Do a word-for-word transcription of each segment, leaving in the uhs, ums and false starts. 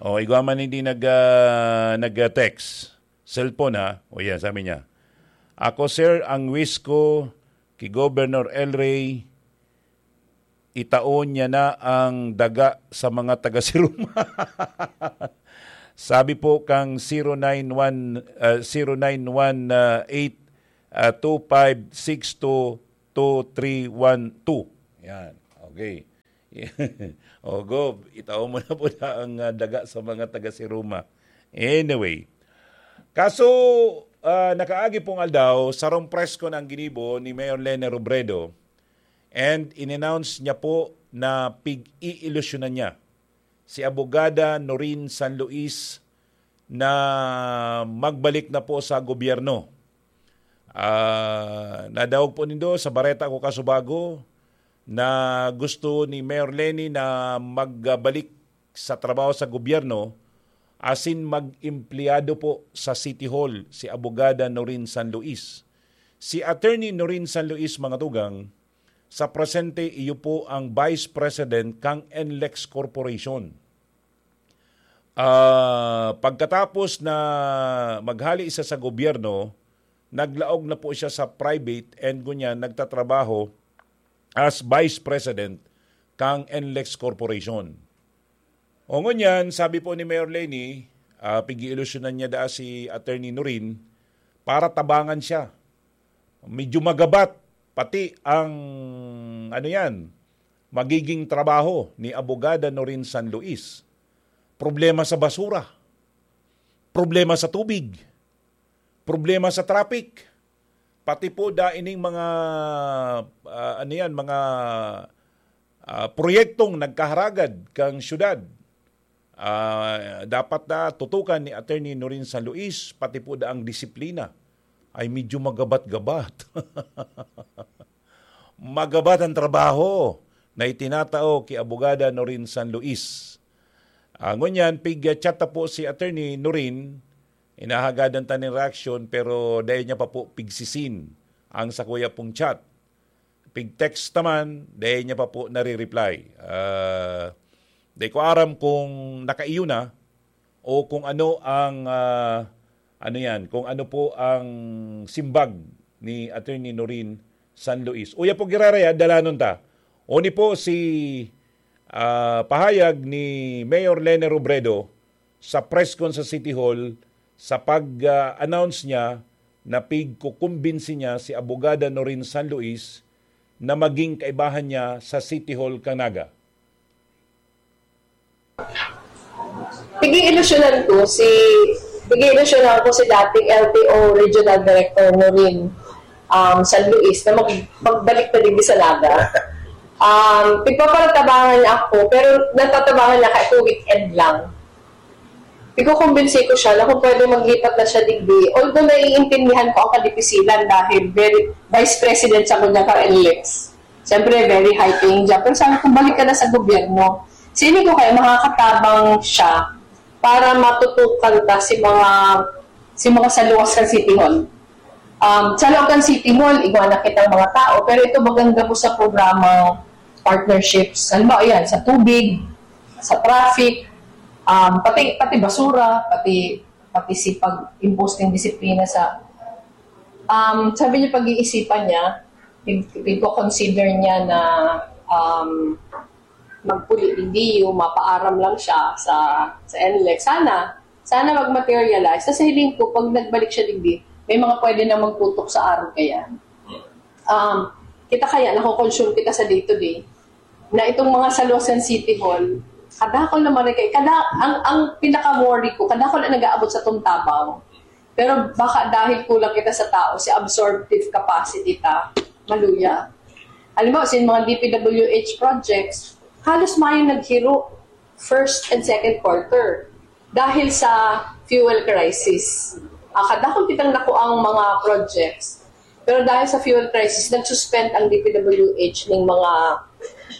O, igwa man hindi nag, ah, nag-text. Cellphone, ha? O yan, sabi niya. Ako, sir, ang wish ko ki Governor El Rey, itaon niya na ang daga sa mga taga-Siruma. Sabi po kang zero nine one, ah, zero nine one eight, ah, two five six two two three one two. Yan. Okay. O, Gov, itao mo na po na ang, ah, daga sa mga taga-Siruma. Anyway, kaso, ah, nakaagi pong aldaw, sarong press con ang ginibo ni Mayor Leni Robredo, and in-announce niya po na pig-iilusyonan niya si Abogada Norin San Luis na magbalik na po sa gobyerno. Ah, nadangog po nindo sa bareta ko kasubago na gusto ni Mayor Leni na magbalik sa trabaho sa gobyerno, asin mag-empleyado po sa City Hall, si Abogada Norin San Luis. Si Attorney Norin San Luis, mga tugang, sa presente, iyo po ang Vice President kang NLEX Corporation. Ah, pagkatapos na maghali siya sa gobyerno, naglaog na po siya sa private and ngunyan nagtatrabaho as Vice President kang NLEX Corporation. O ngunyan, sabi po ni Mayor Leni, ah, pig-iilusyonan niya daa si Attorney Norin para tabangan siya. Medyo magabat, pati ang, ano yan, magiging trabaho ni Abogada Norin San Luis. Problema sa basura, problema sa tubig, problema sa traffic, pati po da ining mga, ah, ano yan, mga, ah, proyektong nagkaharagad kang syudad. Ah, dapat na tutukan ni Attorney Norin San Luis, pati po da ang disiplina. Ay medyo magabat-gabat. Magabat ang trabaho na itinatao ki Abogada Norin San Luis. Ah, ngunyan, pig-chat ta po si Attorney Norin, inahagadan ta nin reaksyon, pero dai niya pa po pigsisin ang sakuya pong chat. Pig-text ta man, dai niya pa po nare-reply. Ah, dai ko aram kung nakaiyo na o kung ano ang, ah, ano yan, kung ano po ang simbag ni Attorney Norin San Luis. Uya po, giraraya, dalanon ta. Oni po si, ah, pahayag ni Mayor Leni Robredo sa press con sa City Hall sa pag-announce niya na pigkukumbinsi niya si Abogada Norin San Luis na maging kaibahan niya sa City Hall kan Naga. Pig-iilusyonan ko si pig-iilusyonan ko si dating L T O Regional Director Norin, um, San Luis na mag, magbalik na digdi sa Naga. Um, pigpaparatabangan niya ako, pero natatabangan niya kay weekend lang. Ikukumbinsi ko siya na kung pwede maglipat na siya digdi. Although naiintindihan ko ang kadipisilan dahil very, vice president sa kunya ka L X. Siyempre, very high paying job. Pero sabi ko, balik ka na sa gobyerno. Sini ko kaya makakatabang siya para matutukan ta si mga si mga saluwas kan City Hall. Um, sa loob kan City Hall, igwa na kitang mga tao, pero ito maganda po sa programang partnerships. Halimbawa, yan, sa tubig, sa traffic, um, pati, pati basura, pati, pati si pag-impose ng disiplina sa, um, sabi niya, pag-iisipan niya, pig-, pigko-consider niya na, um, magpuli digdi, mapaaram lang siya sa, sa N L E X. Sana, sana mag-materialize. Sa hiling ko, pag nagbalik siya digdi, may mga pwede na magtutok sa araw kaya. Um, kita kaya, nako-consume kita sa day-to-day, na itong mga saluwasan City Hall, kadakol naman rin kay, kada, ang, ang pinaka-worry ko, kadakol na nag-aabot sa tuntabaw. Pero baka dahil kulang kita sa tao, si absorptive capacity ta, maluya. Halimbawa, sa mga D P W H projects, halos mayo naghiro first and second quarter dahil sa fuel crisis. Ah, kadakol kitang nakuang mga projects. Pero dahil sa fuel crisis, nag-suspend ang D P W H ng mga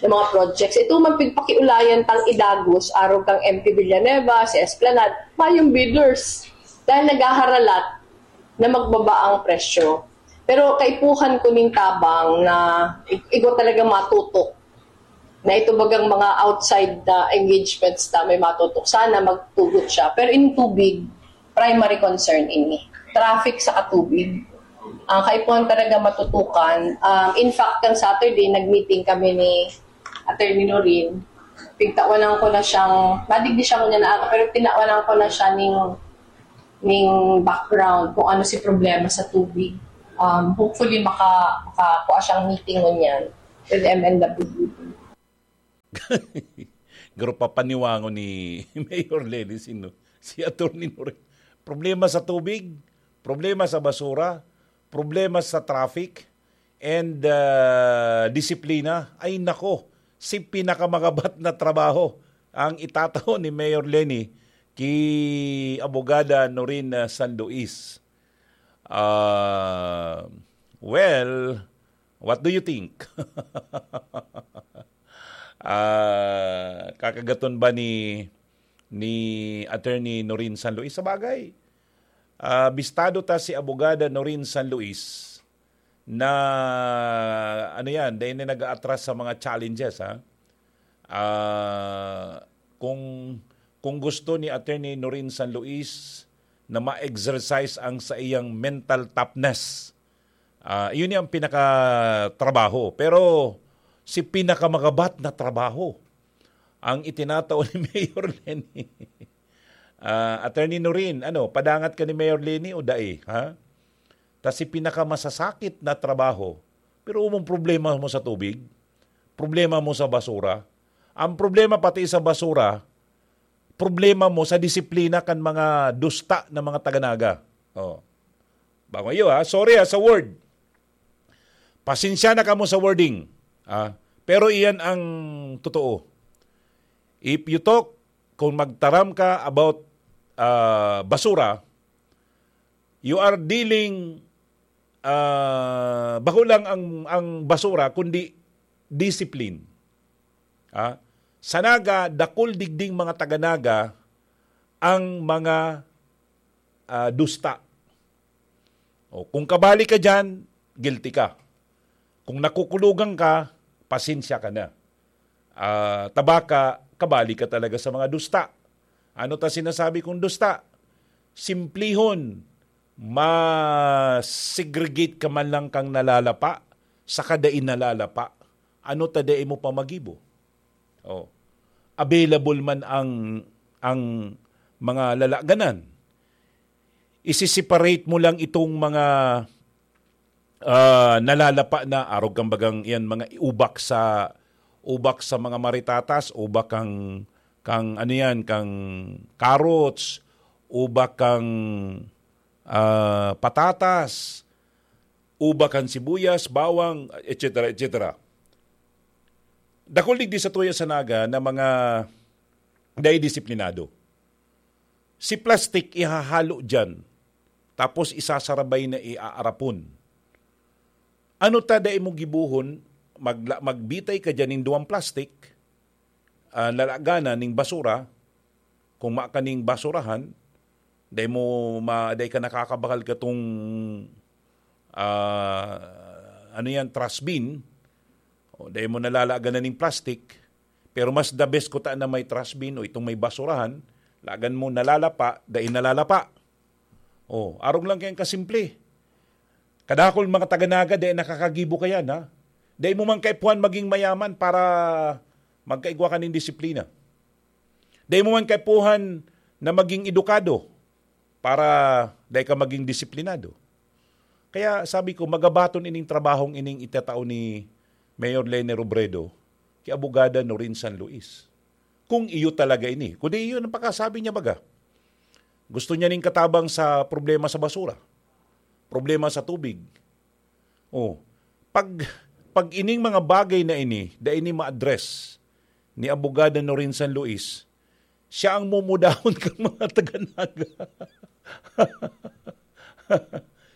ng mga projects. Ito man pigpakiulayan tang idagos, arog kang M P Villanueva, si Esplanade, mayong bidders. Dahil naghaharalat na magbaba ang presyo. Pero kaipuhan ko ning tabang na ig-, igwa talaga matutok. Na ito bagang mga outside na engagements na may matutok. Sana magtugot siya. Pero in tubig, primary concern ini. Traffic sa katubig. Ang kaipuhan talaga matutukan. Um, in fact, kan Saturday, nag-meeting kami ni Attorney Norin. Pigtawanan ko na siyang, nadigdi siya ko niya na ako, pero tinawanan ko na siya ning, ning background kung ano si problema sa tubig. Um, hopefully, maka, makakuha siyang meeting ngunyan with M N W D. Grupo paniwango ni Mayor Leni, sino? Si Attorney Norin. Problema sa tubig, problema sa basura, problema sa traffic, and uh, disiplina. Ay nako, si pinakamagabat na trabaho ang itatao ni Mayor Leni ki Abogada Norin uh, San Luis. Uh, well, what do you think? Ah, kakagaton ba ni ni Attorney Norin San Luis? Sa bagay, ah, bistado ta si Abogada Norin San Luis na, ano yan, dahil na nag-aatras sa mga challenges, ha? Ah, kung, kung gusto ni Attorney Norin San Luis na ma-exercise ang sa iyang mental toughness, ah, yun yung pinakatrabaho. Pero si pinakamagabat na trabaho ang itinatao ni Mayor Leni. Ah, Attorney Norin, ano, padangat ka ni Mayor Leni o dai, ha? Ta si pinakamasasakit na trabaho, pero umong problema mo sa tubig, problema mo sa basura. Ang problema pati sa basura, problema mo sa disiplina kan mga dusta na mga taga-Naga. Oh. Bango iyo, ha? Sorry, ha, sa word. Pasensya na kamo sa wording. Ah, pero iyan ang totoo. If you talk, kung magtaram ka about ah, basura, you are dealing, ah, bako lang ang, ang basura, kundi discipline. Ah, sa Naga, dakul digding mga taga-Naga ang mga ah, dusta. O, kung kabali ka dyan, guilty ka. Kung nakukulugan ka, pasensya ka na. Ah, tabaka, kabali ka talaga sa mga dusta. Ano ta sinasabi kong dusta? Simplihon, ma-segregate ka man lang kang nalalapa, saka dai nalalapa. Ano ta dai mo pa magibo? Oh. Available man ang, ang mga lalaganan. Isi-separate mo lang itong mga ah, nalalapa na, arog kang bagang iyan, mga ubak sa, ubak sa mga maritatas, ubak kang, kang ano yan, kang carrots, ubak kang ah, patatas, ubak kang sibuyas, bawang, et cetera, et cetera. Dakul digdi sa tuya sa Naga na mga dai disiplinado. Si plastic ihahalo diyan, tapos isasarabay na iaarapon. Ano ta dai mo gibuhon, magla-, magbitay ka diyan nin duwang plastic, ah, lalaganan ning basura, kung ma kaning basurahan, dai mo ma-, dai ka nakakabakal katong, ah, ano yan, trash bin, o dai mo nalalaganan ning plastic, pero mas the best ko ta na may trash bin o itong may basurahan, lagan mo nalalapa, dai nalalapa. Oh, arog lang kayang kasimple. Kadakol mga taga-Naga, dai nakakagibo kayan, ha? Dai mo man kaipuhan maging mayaman para magkaigwa ka nin disiplina. Dai mo man kaipuhan na maging edukado para dai ka maging disiplinado. Kaya sabi ko, magabaton ining trabahong ining itatao ni Mayor Leni Robredo ki Abogada Norin San Luis. Kung iyo talaga ini. Kundi iyo ang pagkasabi niya baga. Gusto niya ning katabang sa problema sa basura. Problema sa tubig. Oh, pag, pag ining mga bagay na ini, da ini ma-address ni Abogada Norin San Luis, siya ang mumudahon kan mga taga-Naga.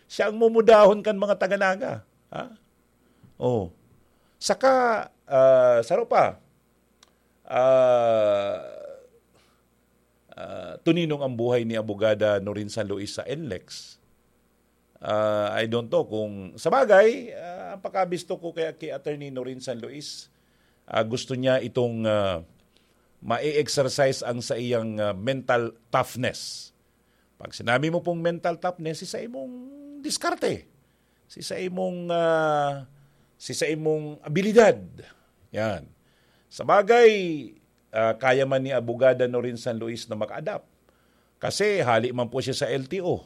Siya ang mumudahon kan mga taga-Naga. Ha? Oh. Saka, ah, saro pa, ah, ah, tuninong ang buhay ni Abogada Norin San Luis sa NLEX. Ah, I don't know kung, sa bagay, ah, ang pagkabisto ko kaya kay Attorney Norin San Luis, ah, gusto niya itong, ah, ma-exercise ang sa iyang, ah, mental toughness. Pag sinabi mo pong mental toughness, si sa imong diskarte, si sa imong, ah, si sa imong abilidad. Yan. Sa bagay, ah, kaya man ni Abogada Norin San Luis na maka-adapt. Kasi hali man po siya sa L T O,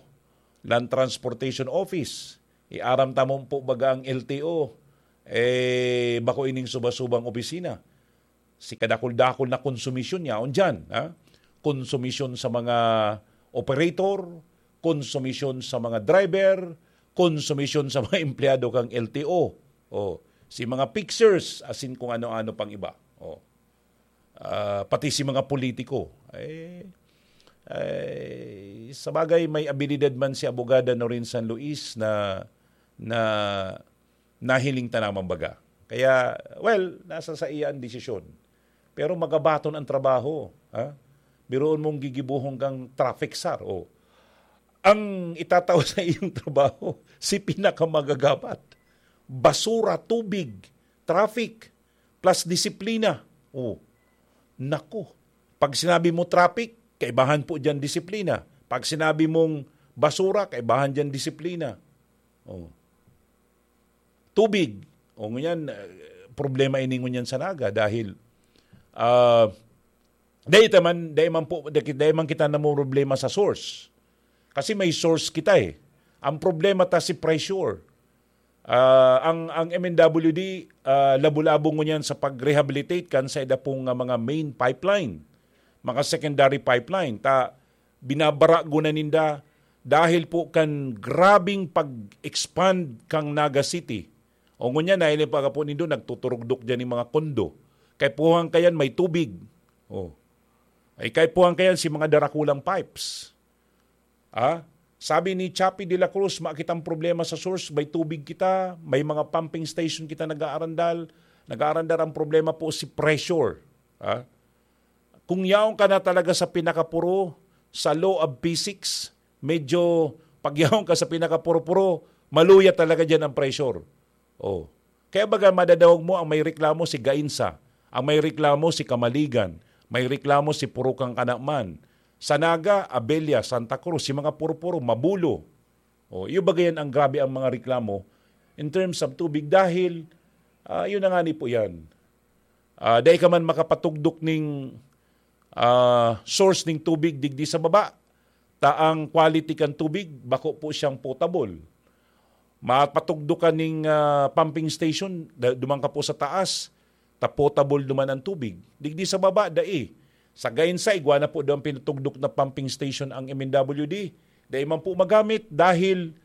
Land Transportation Office. Iaram ta mo po baga ang L T O, eh, bako ining suba-subang opisina. Si kadakul-dakul na konsumisyon niya, on dyan, ha? Konsumisyon sa mga operator, konsumisyon sa mga driver, konsumisyon sa mga empleyado kang L T O. O, si mga fixers, asin kung ano-ano pang iba. O. Ah, pati si mga politiko. Eh, eh, sa bagay, may abilidad man si Abogada Norin San Luis na, na nahiling ta naman baga. Kaya, well, nasa sa iya ang desisyon. Pero magabaton ang trabaho. Ha? Biruon mong gigibuhon kang traffic czar. O. Ang itatao sa iyong trabaho, si pinakamagagamit. Basura, tubig, traffic, plus disiplina. O. Nako. Pag sinabi mo traffic, kaibahan po dyan disiplina. Pag sinabi mong basura, kaibahan dyan disiplina. O. Tubig. O, ngunyan, eh, problema ini ngunyan sa Naga dahil, ah, dai ta man, dai man po, dai, dai man kita namumroblema sa source. Kasi may source kita eh. Ang problema ta si pressure. Ah, ang, ang M N W D, ah, labo-labo ngunyan sa pag-rehabilitate kan sa ida pong, ah, mga main pipeline, mga secondary pipeline. Ta, binabarago na ninda dahil po kan grabing pag-expand kang Naga City. O ngunyan, nahiling pa po nindo, nagtuturugdok dyan yung mga kondo. Kaipuhan kayan, may tubig. O. Ay, kaipuhan kayan, si mga darakulang pipes. Ah? Sabi ni Chappie de la Cruz, makitang problema sa source, may tubig kita, may mga pumping station kita nag-aarandal. Nag-aarandal, ang problema po si pressure. Ah? Kung yaon ka na talaga sa pinakapuro, sa law of physics, medyo pag yaon ka sa pinakapuro-puro, maluya talaga dyan ang pressure. Oh. Kaya baga madadangog mo ang may reklamo si Gainsa, ang may reklamo si Kamaligan, may reklamo si Purukang Kanaman. Sa Naga, Abella, Santa Cruz, si mga puro-puro, Mabulo. Oh, iyo baga yan ang grabe ang mga reklamo in terms of tubig dahil, ah, yun na nga ni po yan. Ah, dai ka man makapatugdok ning, ah, source ning tubig digdi sa baba, ta ang quality kan tubig bako po siyang potable. Mapatugdok ka ning, ah, pumping station, da-, duman ka po sa taas, ta potable duman ang tubig. Digdi sa baba, dai. Sa Gainsa, igwa na po daw ang pinatugdok na pumping station ang M N W D. Dai man po magamit dahil,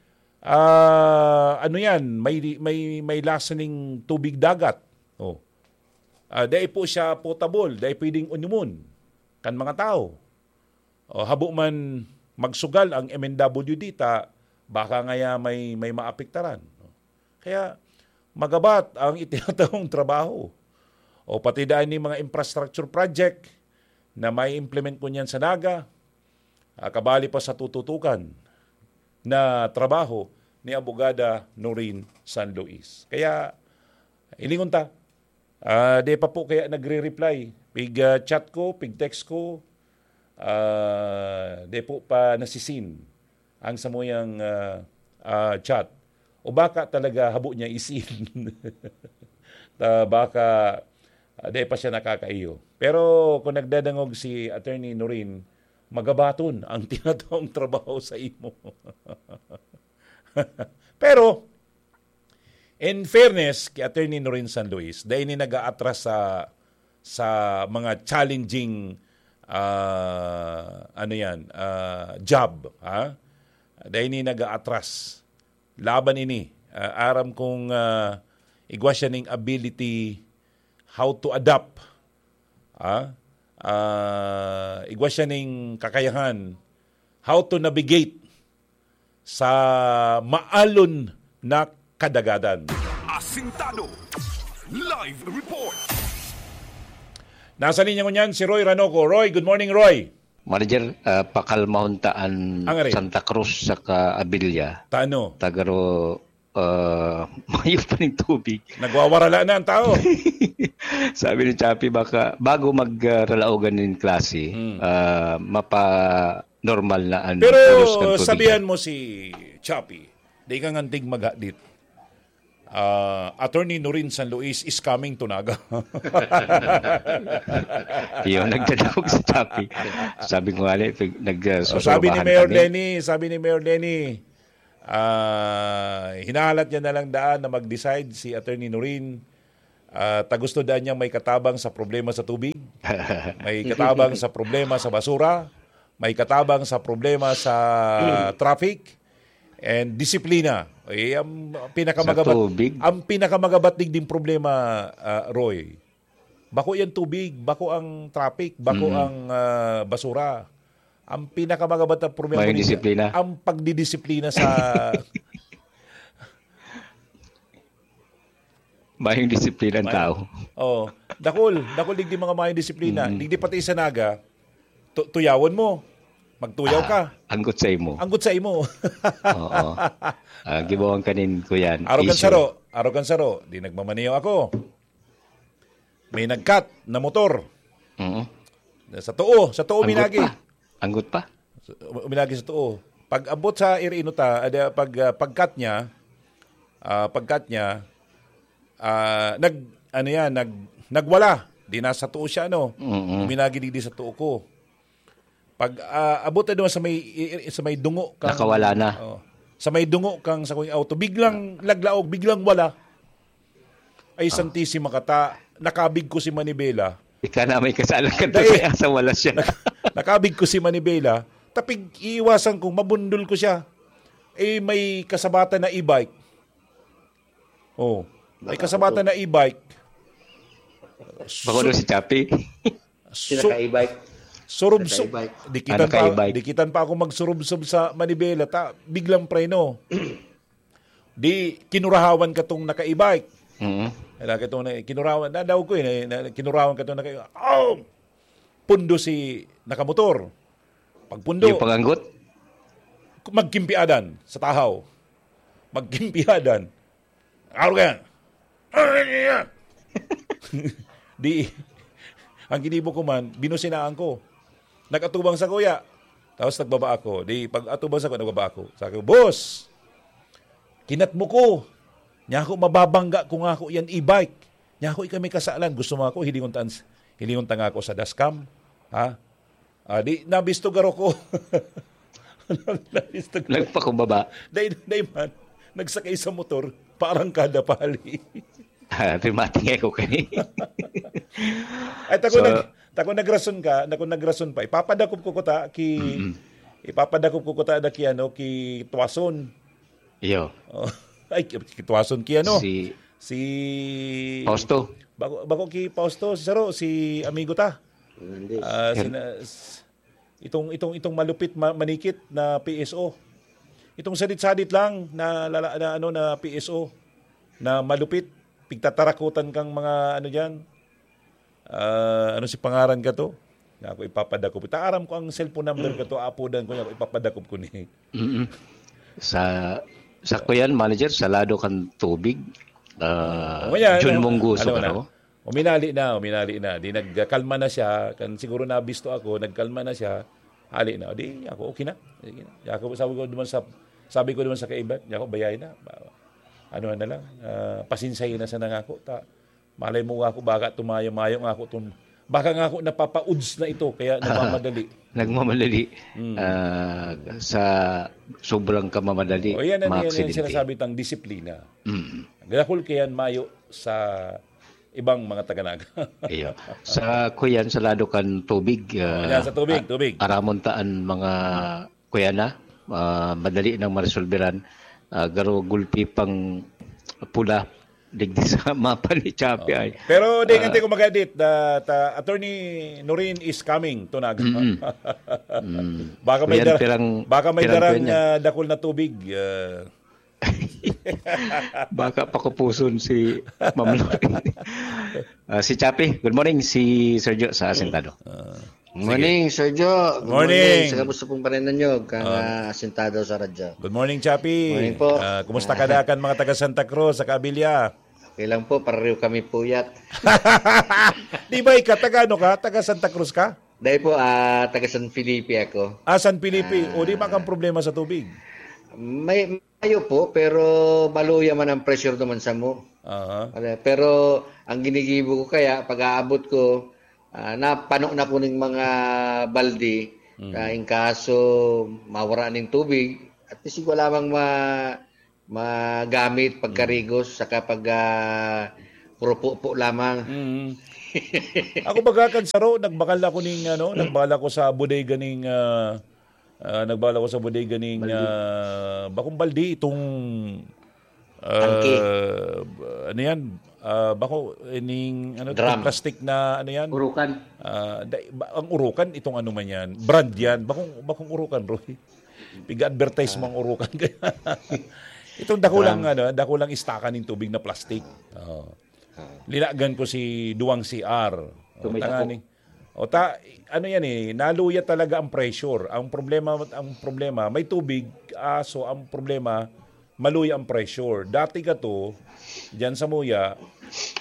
ah, ano yan, may, may, may lasa ning tubig dagat. Oh. Ah, dai po siya potable, dai pwedeng unumun kan mga tao. O, habo man magsugal ang M N W D ta, baka ngaya may, may maapektaran. Kaya magabat ang itinatahong trabaho. O pati daan ni mga infrastructure project na may implement ko niyan sa Naga, ah, kabali pa sa tututukan na trabaho ni Abogada Noreen San Luis. Kaya, ilingon ta, ah, di pa po kaya nagre-reply. Pig, ah, chat ko, pig text ko, ah, di po pa nasisin ang samuyang, ah, ah, chat. O baka talaga habo niya isin. Ta, baka, ah, di pa siya nakakaiyo. Pero kung nagdadangog si Attorney Noreen, magabaton ang tinatawang trabaho sa imo. Pero, in fairness kay Attorney Noreen San Luis, dai ni nag-aatras sa, sa mga challenging, ah, ano yan, ah, job, ha? Dai ni nag-aatras. Laban ini. Ah, aram kong, ah, igwa siya ning ability how to adapt. Ah, ah, igwa siya ning kakayahan how to navigate sa maalon na kadagadan. Asintado. Live report. Nasa linya ngunyan si Roy Ranoco. Roy, good morning, Roy. Manager, ah, pakalmahon ta an Ang ari? Santa Cruz saka Abilia. Tano? Tagaro ah, mayo pa ning tubig. Nagwawarala na ang tao. Sabi ni Chappy, baka bago mag, ah, ralaogan nin klase, Hmm. ah, mapa-normal na ang Pero pulos kan tubig. Sabihan mo si Chappy, di ka ngantig maghadit. Ah, Attorney Norin San Luis is coming to Naga. Yun, nagdadakog si Chappy. Sabi ko nga, eh, pag nag, ah, Oh, sabi ni susurubahan Mayor kami. Lenny, sabi ni Mayor Lenny, ah, hinahalat niya na lang daan na mag-decide si Attorney Norin. Ah, ta gusto daan niyang may katabang sa problema sa tubig, may katabang sa problema sa basura, may katabang sa problema sa traffic, and disiplina. Eh, ang pinakamagabat, Sa tubig? ang pinakamagabat digding problema, ah, Roy. Bako yan tubig, bako ang traffic, bako Mm. ang, ah, basura. Ang pinakamagabat na problema May digdi, disiplina. ang pagdidisiplina sa Mayong disiplina ang May tao. Oo. Dakul, dakul digdi mga mayong disiplina. Mm. Digdi pati sa Naga, tu-, tuyawon mo. Magtuyaw Ah, ka. Anggot sa imo. Anggot sa imo. Oo. Ah, gibawan ka nin kuyan, Araw kan issue. saro, araw kan saro, di nagmamaniyo ako. May nagkat na motor. Mm. Sa too, sa too Anggot minagi. pa. Anggot pa. Uminagi sa too. Pag abot sa iri-, ino ta, ada, pag, ah, pagkat niya, ah, pagkat niya, ah, nag, ano yan, nag, nagwala. Di nasa too siya, ano? Mm-mm. Uminagi digdi sa too ko. Pag, ah, abot na naman sa may, i-, i-, sa may dungo kang Nakawala na. Oh. Sa may dungo kang sa kuning auto, biglang laglaog, biglang wala. Ay, Ah. Santisima ka ta, nakabig ko si Manibela. Ika na may kasala ka Dai. doon, kaya sa wala siya. Nak-, nakabig ko si Manibela, tapig iiwasan kong mabundol ko siya. Eh, may kasabatan na e-bike. Oh, may Naka- kasabatan na e-bike. Bako Su- doon si Chappy. Su- Sinaka e-bike. Surub-, su- Naka-e-bike. Dikitan Ano pa, ka-e-bike? dikitan pa ako magsurubsob sa manibela, ta, biglang preno. Di, kinurahawan katong naka-e-bike. Mm. Kaya katong na, kinurahawan, nadawag ko eh, na, na, kinurahawan katong naka-e-bike. Oh! Pundo si nakamotor. Pagpundo, Yung panganggot? magkimpiadan sa tahaw. Magkimpiadan. Araw ka yan. Di, ang ginibo ko man, binusinaan ko. Nag-atubang sa kuya. Tapos nagbaba ako. Di, pag atubang sa kuya, nagbaba ako. Sabi ko, "Boss, kinat mo ko. Niya ako mababangga kung ako yan e-bike. Niya ako ikami kasalan. Gusto mo ako, hilingon ta, hilingon ta nga ako sa dashcam. Ha?" Ah, di, nabisto garo ko. Nabisto garo. Nagpakumbaba. Dai, dai man. Nagsakay sa motor, parang kada pali. Ah, pimatingay ko kani. Ay, tako So, nag-, tako nagrason ka, tako nagrason pa. Ipapadakop ko kuta ki, Mm-mm. ipapadakop ko kuta na ki, ano, ki Tuason. Iyo. Oh. Ay, ki, ki Tuason ki, ano? Si Si Fausto. Bako, bako ki Fausto, si Saro, si amigo ta. Hernandez. Ah, Her- sina-, s-, itong, itong, itong malupit ma-, manikit na P S O. Itong sadit-sadit lang na lala-, na ano, na P S O na malupit, pigtatarakutan kang mga ano diyan. Ah, ano si pangaran ka to? Nga ako ipapadakop. Ta aram ko ang cellphone number ka to, apodan ko niya, ipapadakop ko ni. Mm-mm. Sa, sa kuyan, manager, sa lado kan tubig, ah, O, yan, Jun ano, Mungguso ano ka na? na, oh. Uminali na, uminali na. Di nagkalma na siya. Kan siguro nabisto ako, nagkalma na siya. Hali na. Di ako, okay na. Sige na. Di ako, sabi ko naman sa, sabi ko naman sa kaiba, di ako, bayay na. Ano na lang, ah, pasinsahin na sa nangako. Ta, malay mo nga ako, baka tumayo-mayo nga ako tun-, baka nga ako napapa-uds na ito, kaya nagmamadali. Nagmamadali, Mm. ah, sa sobrang kamamadali, O, yan ang, yan ang maaksidente. sinasabi tang disiplina. Mm. Dakul kayan mayo sa ibang mga taga-Naga. Iyo. Sa kuyan, sa lado kan tubig, ah, Yan, sa tubig, a-, tubig. aramon ta an mga kuyan na, ah, madali nang maresolberan. Ah, garo gulpi pang pula digdi sa mapa ni Chappy Oh. ay. Pero di, Ah. Antay ko mag-edit, ah, ta-, Attorney Norin is coming to Naga. Mm-mm. Mm. Baka may Kuyan, dar-, pirang, baka may pirang darang, kuyan niya. ah, dakul na tubig, ah. Baka pakupuson si Ma'am Loren. Ah, si Chappy, good morning. Si Sergio sa Asintado. Ah. Morning, Sir Joe. Good Morning. Morning. Sa kamusta pong paninanyog kang, Ah. ah, asintado sa radyo? Good morning, Chappy. Morning po. Ah, kumusta ka Ah. dakan mga taga Santa Cruz, sa Kabilya? Okay lang po, pareho kami puyat. Di ba ikaw, taga ano ka? Taga Santa Cruz ka? Dahil po, ah, taga San Felipe ako. Ah, San Felipe. Ah. O, di ba kang problema sa tubig? May, mayo po, pero maluya man ang pressure naman sa mo. Aha. Wala, pero ang ginigibo ko kaya, pag aabot ko, ah, napano na ko ning mga balde, Mm. ah, in kaso mawara ning tubig, at least wala mang ma-, magamit pagkarigos, Mm. saka pag, ah, purupo-po lamang. Mm. Ako baga kan saro, nagbakal ako ning, ano, nagbakal ako sa bodega ning, ah, ah, nagbakal ako sa bodega ning, Balde. ah, bakong balde, itong, ah, Tangke. ano yan? Ah, bako, ining, ano, Drum. itong plastic na, ano yan? Urukan. Ah, da-, ba-, ang urukan, itong ano man yan, brand yan. Bakong, bakong urukan, Roy. Piga-advertise mo ang urukan. Itong dakulang, Drum. ano, dakulang istaka ning tubig na plastic. Oo. Ah. Linagan ko si duwang C R. O, Tumay tanga tapo. ni. O, ta-, ano yan eh, naluya talaga ang pressure. Ang problema, ang problema, may tubig, aso ang problema, maluya ang pressure. Dati ka to, dyan sa Muya,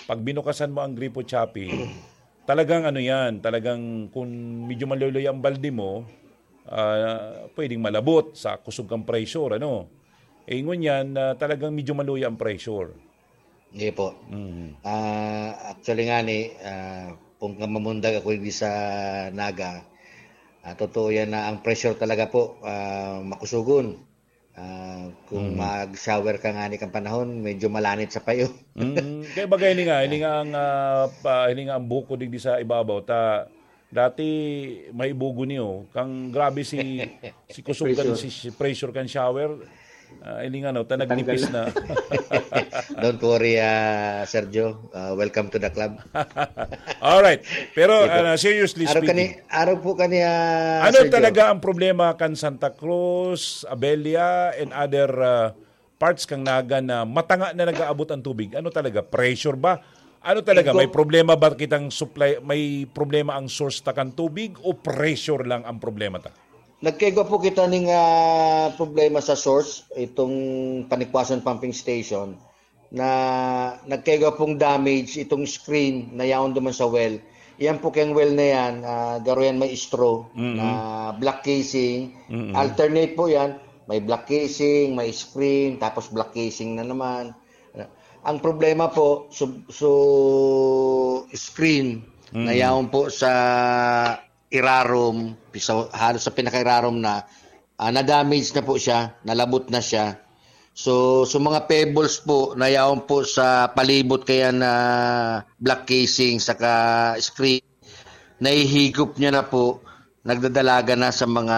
pag binukasan mo ang gripo, Chappy, talagang ano yan, talagang kung medyo maluloy ang balde mo, ah, pwedeng malabot sa kusog kang pressure, ano. Eh, ngunyan, ah, talagang medyo maluya ang pressure. Hindi po. Mhm. Ah, actually nga ni, ah, kung ka mamundag ako hindi sa Naga, ah, totoo yan na ang pressure talaga po, ah, makusugon. Ah, kung Mhm. mag-shower ka nga ni kang panahon, medyo malanit sa payo. Mm, kaya bagay ini nga, ini nga ang, ah, pa, ini nga ang buko digdi sa ibabaw. Ta, dati may bugo niyo. Kang grabe si, si kusog kan, Pressure. si, si pressure kan shower. Ah, ini nga, no, ta Natanggal. nagnipis na. Don't worry, ah, Sergio. Ah, welcome to the club. Alright. Pero, Ito. ah, seriously Araw speaking, kani, araw po kani, ah, ano Sergio. talaga ang problema kan Santa Cruz, Abella, and other, ah, parts kang Naga na matanga na nag-aabot ang tubig? Ano talaga? Pressure ba? Ano talaga? Ito. May problema ba kitang supply? May problema ang source ta kan tubig o pressure lang ang problema ta? Nagkaigwa po kita ning, ah, problema sa source, itong Panikwason Pumping Station, na nagkaigwa pong damage itong screen na yaon duman sa well. Yan po kayang well na yan, ah, garo yan may straw Mm-mm. na black casing. Mm-mm. Alternate po yan. May black casing, may screen, tapos black casing na naman. Ang problema po, so, so screen na Mm. yaon po sa irarom, sa, halos sa pinakairarom na, ah, na-damage na po siya, nalabot na siya. So, so mga pebbles po na yaon po sa palibot kaya na black casing saka screen, nahihigop niya na po, nagdadalaga na sa mga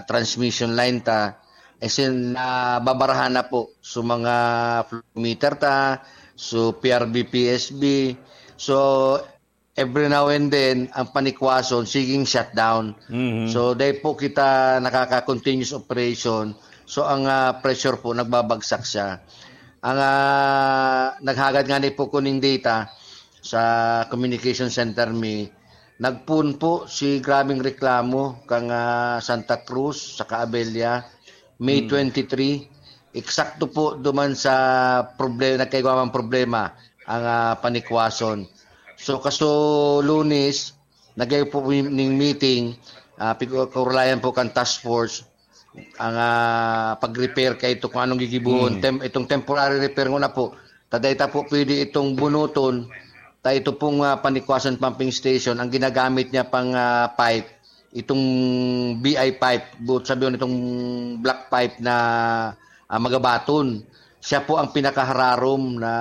transmission line ta. As in, nababarahan na po. So, mga flow meter ta, so, P R B, P S B. So, every now and then, ang Panikwason, siging shutdown. Mhm. So, dahil po kita nakaka-continuous operation, so, ang, ah, pressure po, nagbabagsak siya. Ang, ah, naghagad nga ni po kuning data sa communication center mi, nagpoon po si grabing reklamo kang, ah, Santa Cruz saka Abella, May Hmm. twenty-three. Eksakto po duman sa proble-, nagkaigwa man problema ang, ah, Panikwason. So, kaso Lunes, nagay po ning meeting, ah, pig-, kaurulayan po kan task force, ang, ah, pag-repair kay ito kung anong gigibohon. Hmm. Tem-, itong temporary repair nguna po, ta dai ta po pwede itong bunuton, ta ito pong, ah, Panikwason pumping station, ang ginagamit niya pang, ah, pipe, itong B I pipe, buot sabihin itong black pipe na, ah, magabaton. Siya po ang pinakahararom na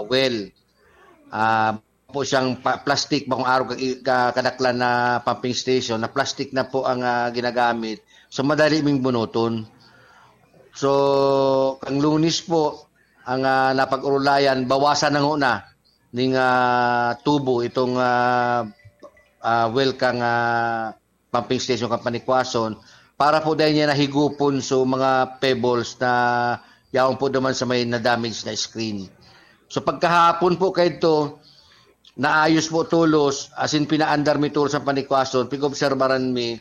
well. Ah, po siyang pa-, plastic, bakong araw ka-, ka-, kadaklan na pumping station, na plastic na po ang, ah, ginagamit. So, madali ming bunuton. So, ang Lunes po, ang, ah, napag-urulayan, bawasan na nguna ning, ah, tubo itong, ah, ah, well kang, ah, pumping station kan Panikwason para po dai niya nahigupon so mga pebbles na yaon po duman sa may na-damage na screen. So pagkahapon po kaidto, naayos po tolos, as in pinaandar mi tolos ang panikwason, pig-obserbaran mi.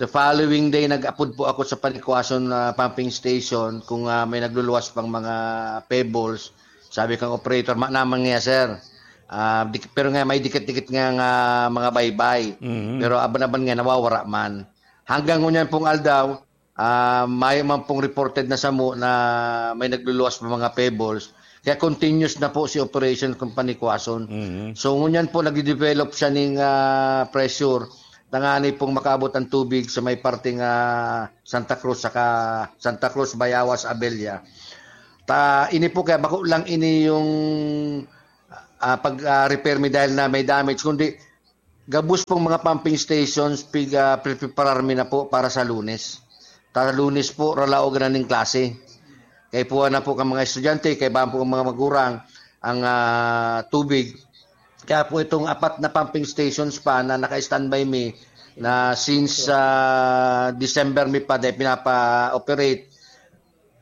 The following day, nag-apod po ako sa panikwason na pumping station kung, ah, may nagluluwas pang mga pebbles. Sabi kang operator, "Ma naman nga, sir. Ah, dik-, pero nga may dikit-dikit nga, nga mga baybay." Mhm. Pero aban-aban nga, nawawara man. Hanggang ngunyan pong aldaw, ah, mayo man pong reported na samo na may nagluluwas ng mga pebbles. Kaya continuous na po si operation kung panikwason. Mhm. So, ngunyan po, nagde-develop siya ning, ah, pressure. Tangani pong makaabot ang tubig sa may parteng, ah, Santa Cruz, saka Santa Cruz, Bayawas, Abella. Ta, ini po kaya bako lang ini yung, ah, pag, ah, repair mi dahil na may damage, kundi gabos pong mga pumping stations, pig-, ah, preparar mi na po para sa Lunes. Ta Lunes po, ralaogan na ning klase. Kaipuhan na po kan mga estudyante, kaibahan po kan mga magurang ang, ah, tubig. Kaya po itong apat na pumping stations pa na naka-standby mi na since, ah, December mi pa dai pinapa-operate,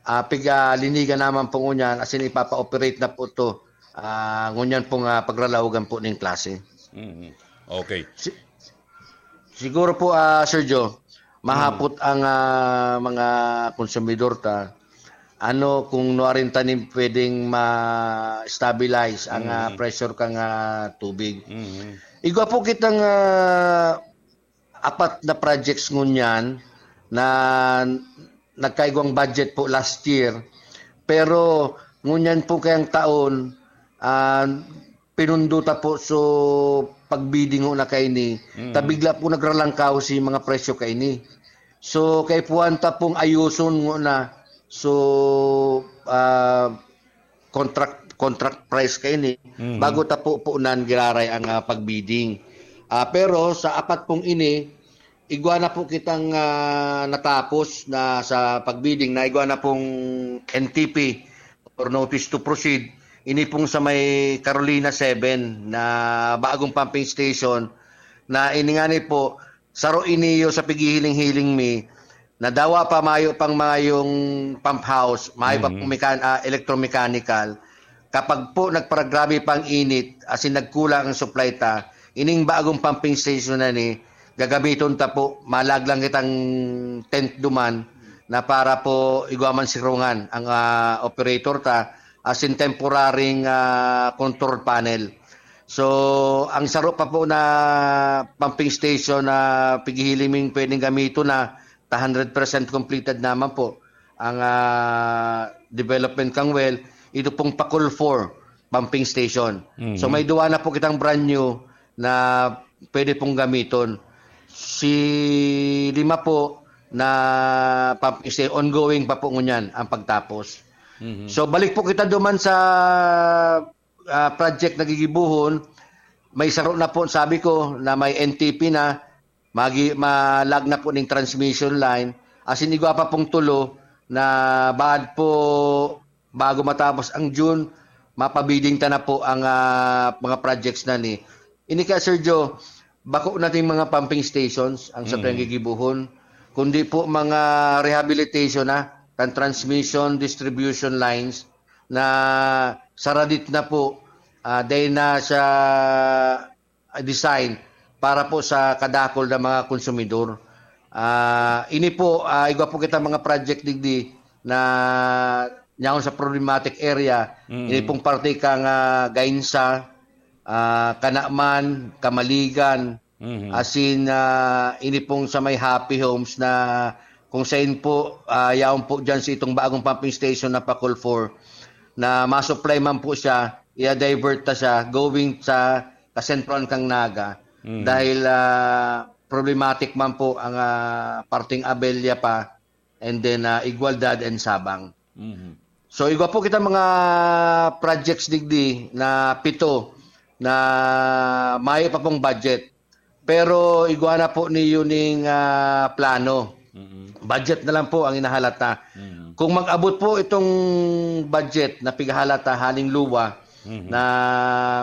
ah, pig-, ah, linigan naman po ngunyan, as in ipapa-operate na po 'to. Ah, ngunyan pong, ah, pagralaogan po ning klase. Mhm. Okay. Si-, siguro po, ah, Sir Joe, mahapot ang, ah, mga konsumidor ta, ano, kung nuarin ta nin pwedeng ma-stabilize ang, ah, Mhm. pressure kan, ah, tubig. Mhm. Igwa po kitang, ah, apat na projects ngunyan na nagkaigwang budget po last year, pero ngunyan po kayang taon, ah, pinundo ta po. So, pag-bidding ho na kaini, Mm. ta bigla po nagralangkaw si mga presyo kaini. So, kaipuhan ta pong ayuson ngona. So, ah, contract, contract price kaini, Mhm. bago ta po punan giraray ang, ah, pag-bidding. Ah, pero sa apat pong ini, igwa na po kitang, ah, natapos na sa pag-bidding, na igwa na pong N T P or notice to proceed. Ini pong sa may Carolina seven na bagong pumping station na ini ngani po, saro ini yo sa pighihiling-hiling mi, na dawa pa mayo pang mayong pump house, mayo pa Mhm. pong mekan-, ah, electromechanical. Kapag po nagparagrabe pang init, as in nagkulang ang supply ta, ining bagong pumping station na ni, gagamiton ta po, malag lang kitang tent duman na para po igwa man sirungan ang, ah, operator ta, as in temporaryng, ah, control panel. So, ang saro pa po na pumping station na pighihiling ming pwedeng gamiton na ta hundred percent completed naman po ang, ah, development kang well, ito pong Pakol four pumping station. Mhm. So, may duwa na po kitang brand new na pwede pong gamiton. Si lima po na pumping station, ongoing pa po ngunyan ang pagtapos. Mhm. So, balik po kita duman sa, ah, project na gigibohon. May saro na po, sabi ko, na may N T P na, magi-, malag na po ning transmission line. As in, igwa pa pong tulo na baad po, bago matapos ang June, mapa-bidding ta na po ang, ah, mga projects na ni. Ini kaya, Sir Joe, bako nating mga pumping stations ang sa Mm. gigibohon, kundi po mga rehabilitation na kan transmission, distribution lines na saradit na po, ah, dahil na sa design para po sa kadakul na mga konsumidor. Ah, ini po, ah, igwa po kita mga project digdi na nyaon sa problematic area. Mm. Ini pong parte kang, ah, Gainsa, ah, Kanaman, Kamaligan, Mhm. as in, ah, ini pong sa may Happy Homes na kung sain po, ah, yaon po dyan sa itong bagong pumping station na Pakol four, na masupply man po siya, i-divert ta siya going sa kasentroan kang Naga. Mhm. Dahil, ah, problematic man po ang, ah, parteng Abella pa, and then, ah, Igualdad and Sabang. Mhm. So, igwa po kita mga projects digdi na pito na mayo pa pong budget. Pero igwa na po niyo ning, ah, plano. Mhm. Budget na lang po ang inahalata. Mhm. Kung mag-abot po itong budget na pighahalata haling luwa Mhm. na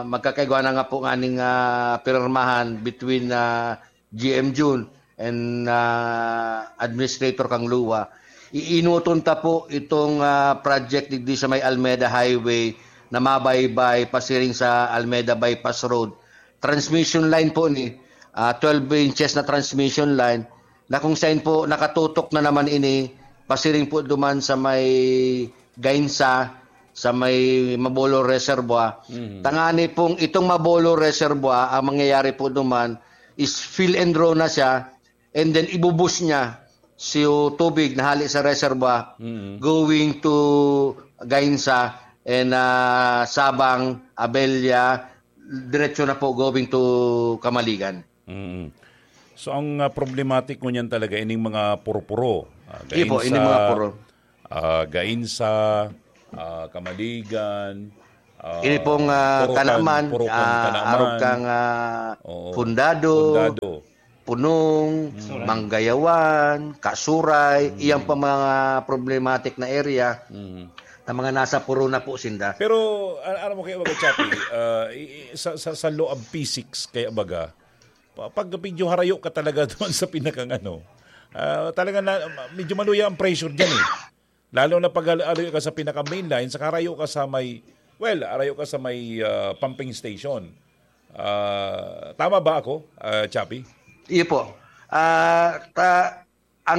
magkakaigwa na nga po nganing, ah, pirmahan between, ah, G M Jun and, ah, Administrator kang luwa, iinuton ta po itong, ah, project digdi sa may Almeda Highway na mabaybay pasiring sa Almeda Bypass Road. Transmission line po ni, ah, twelve inches na transmission line na kung saan po nakatutok na naman ini pasiring po duman sa may Gainsa, sa may Mabolo Reservoir. Mhm. Tangani pong itong Mabolo Reservoir, ang mangyayari po duman is fill and draw na siya, and then ibubus niya si tubig na hali sa reservoir Mhm. going to Gainsa and, ah, Sabang, Abella, diretso na po going to Kamaligan. Mm. So, ang, ah, problematic ngunyan talaga ining mga puro-puro. Ah, Iyo po, Gainsa, ining mga puro. ah, Gainsa, ah, Kamaligan, ah, Ini pong, ah, Purukan, Kanaman, Purukan, ah, Kanaman. Arog kang, ah, Oo. Fundado, Fundado. Punong, Mm. Manggayawan, Kasuray, Mm. iyang pa mga problematic na area Mm. na mga nasa puro na po sinda. Pero, a-, alam mo kaya baga, Chappie, ah, i-, i-, sa, sa, sa law of physics kaya baga, pa-, pag medyo harayo ka talaga doon sa pinakang ano, ah, talaga na, medyo maluya ang pressure dyan eh. Lalo na pag al-, alayo ka sa pinaka-main line, saka harayo ka sa may, well, harayo ka sa may, ah, pumping station. Ah, tama ba ako, ah, Chappie? Iyo po. Ah, ta-, ang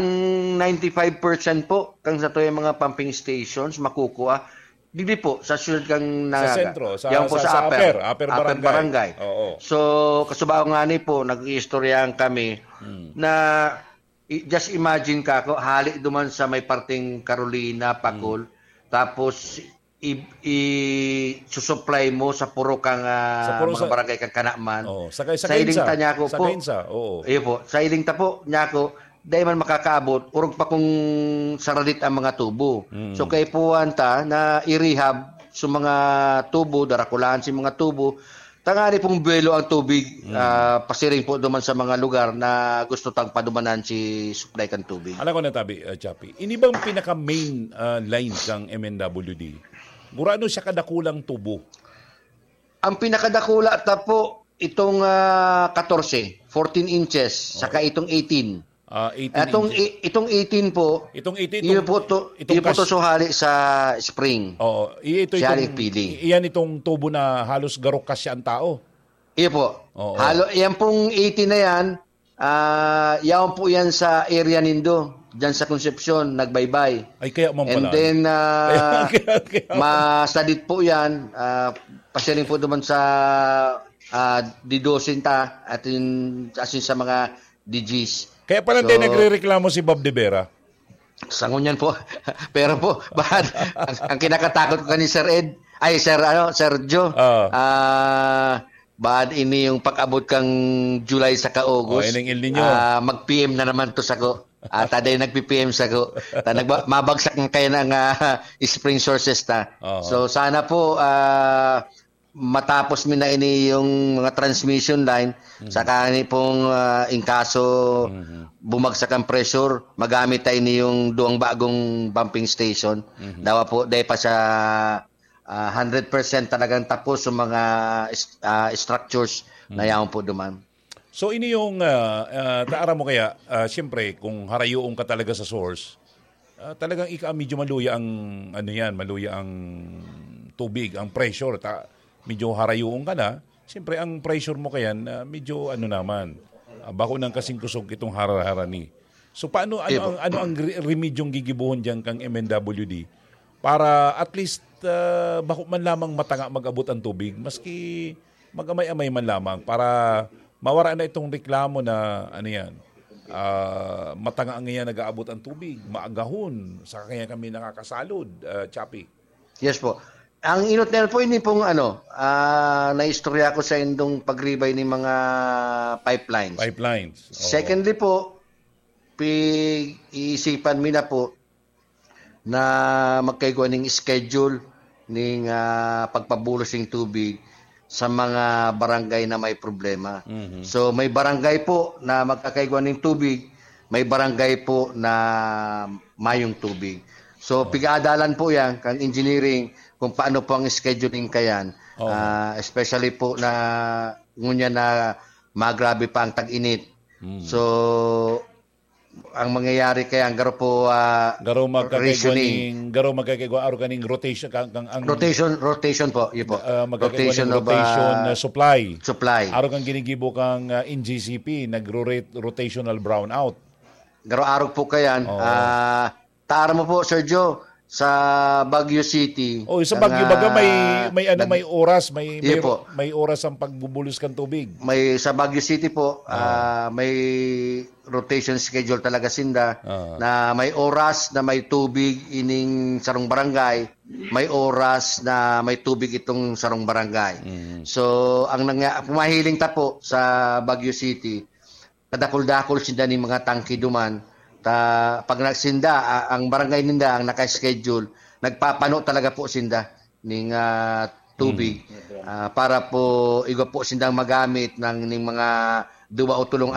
ninety-five percent po, kang sa tuyang mga pumping stations, makukuha, digdi po, sa siyudad kang Sa Naga. sentro, sa, Yan po sa, sa sa upper, upper, upper upper barangay. barangay. Oo. So, kasubago nga ni po, nag-iistoryahan kami Hmm. na, i-, just imagine ka ko, hali duman sa may parting Carolina, Pacol, Hmm. tapos i-, i-susupply mo sa puro kang, ah, Sa puro mga sa barangay kang Kanaman. Oo, sa kay, sa Sa iling Gainsa. ta niya ako Sa po. Gainsa, oo. Iyo po, sa iling ta po niya ako, dai man makakaabot, orog pa kung saradit ang mga tubo. Mm. So, kaipuhan ta na i-rehab sa mga tubo, darakulahan si mga tubo, tangani pong buwelo ang tubig, Mm. ah, pasiring po duman sa mga lugar na gusto tang padumanan si supply kan tubig. Alam ko na, Tabi, ah, Chappie. Ini bang pinaka-main, ah, line kang M N W D? Gurano siya kadakulang tubo? Ang pinakadakula ta po, itong, ah, katorse, fourteen inches, saka Oo. itong eighteen. Ah, eighteen Itong inches. i-, itong eighteen po, Itong eighteen, iyo itong, po to, itong iyo po to kas- suhali sa spring. Oo, i-, ito Siya itong, ang feeling. i-, iyan itong tubo na halos garo kasya ang tao. Iyo po. Oo. Halo, yan pong eighteen na yan, ah, yaon po yan sa area nindo, dyan sa Concepcion, nagbaybay. Ay, kaya man And pala. then, ah, Kaya, kaya, kaya. masadit po yan, ah, pasiring po duman sa, ah, di dosin ta, at in, as in sa mga D Gs. Kaya pala So, hindi nagre-reklamo si Bob de Vera. Sa ngunyan po. Pero po, bahad, ang, ang kinakatakot ko kani Sir Ed, ay, Sir, ano, Sir Joe, Ah. ah, bahad ini yung pag-abot kang July saka August, Oh, ining El Niño. ah, mag-P M na naman to sako. At aday nagpi-P M sako. Ta nagba-, mabagsak na kayo ng, ah, spring sources ta. Oo. So, sana po, ah, matapos mi na ini yung mga transmission line, Mhm. saka ni pong, ah, in kaso Mhm. bumagsak ang pressure, magamit tayo ini yung duwang bagong pumping station. Mhm. Dawa po, dahil pa sa, ah, hundred percent talagang tapos sa mga is-, ah, structures na Mhm. yaon po duman. So, ini yung, ah, ah, ta-, aram mo kaya, ah, siyempre, kung harayoon ka talaga sa source, ah, talagang ika-, medyo maluya ang, ano yan, maluya ang tubig, ang pressure, ta-, medyo harayoon ka na, siyempre, ang pressure mo kayan, ah, medyo, ano naman, ah, bako nang kasing kusog itong hararani. So, paano, ano Ibo. ang, ano ang re-, remedyong gigibohon diyan kang M N W D para at least, ah, bako man lamang matanga mag-abot ang tubig, maski mag-amay-amay man lamang para mawara na itong reklamo na, ano yan, ah, matanga ngayon nag-aabot ang tubig, maagahon, sa kanya kami nakakasalod, ah, Chappie. Yes po. Ang inot na yan po, ini pong ano, ah, naistorya ko sa indong pagribay ni mga pipelines. Pipelines. Oo. Secondly po, pig-iisipan mi na po na magkaigwa ning schedule ning, ah, pagpabulos ning tubig sa mga barangay na may problema. Mhm. So, may barangay po na magkakaigwa ning tubig, may barangay po na mayong tubig. So, Oo. pig-aadalan po yan kang engineering kung paano po ang scheduling kayan. Oo. Ah, especially po na ngunyan na magrabe pa ang tag-init. Mm. So, ang mangyayari kaya ang garo po ah, Garo magkakaigwa rationing. ning, garo magkakaigwa aro kaning rotation kang, kang ang Rotation, rotation po, yun po. ah, magkakaigwa Rotation ning of rotation ah, na supply. supply. Aro kang ginigibo kang ah, N G C P, nagro-rotational brownout. Garo-arog po kayan. Oo. Ah, taram mo po, Sir Joe, sa Baguio City. Oh, sa ang, Baguio baga may ah, may ano nag- may oras, may may, Yun po. may oras ang pagbubulos kan tubig. May sa Baguio City po, ah, may rotation schedule talaga sinda Ah. na may oras na may tubig ining sarong barangay, may oras na may tubig itong sarong barangay. Mm. So, ang nangya, pumahiling ta po sa Baguio City, kadakol-dakol sinda ning mga tangke duman. Ta, pag nagsinda, ah, ang barangay ninda ang naka-schedule, nagpapano talaga po sinda ning ah, tubig ah, para po igwa po sindang magamit ng ning mga duwa o tulong